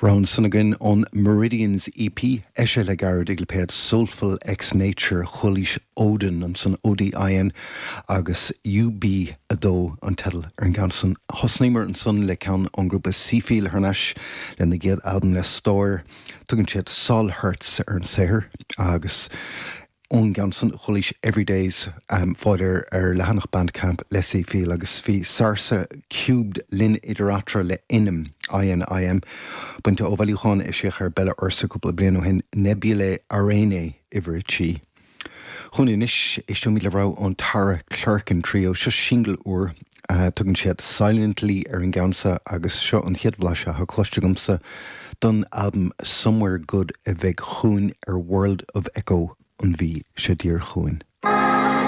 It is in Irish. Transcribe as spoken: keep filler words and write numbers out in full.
Rogha ansan againn ón Meridians EP eisithe le gairid ag lipéad Soulful X Nature chualaís Odin ansan ODIN agus UB a dó an teideal ar an gceann san. Thosnaíomar ansan le ceann ón ngrúpa Seefeel thar n-ais lena gcéad albam le stór, tugann siad Sol Hertz ar an saothar agus ón gceann san chualaís Everydays um, fáil ar ar leathanach Bandcamp le Seefeel agus bhí Sarsa Cubed linn idir eatarthu le Inim INIM bainte ó bhailiúchán eisíodh ar Bella Ursa cúpla bliain ó shin Nebulae Araenae uimhir a trí. Chun anois éisteoimid le rogha ón Tara Clerkin Trio seo singil úr uh, tugann siad Silently ar an gceann seo agus seo an chéad bhlaiseadh atá cloiste agamsa don albam Somewhere Good a bheidh chugainn ar World of Echo an mhí seo chugainn.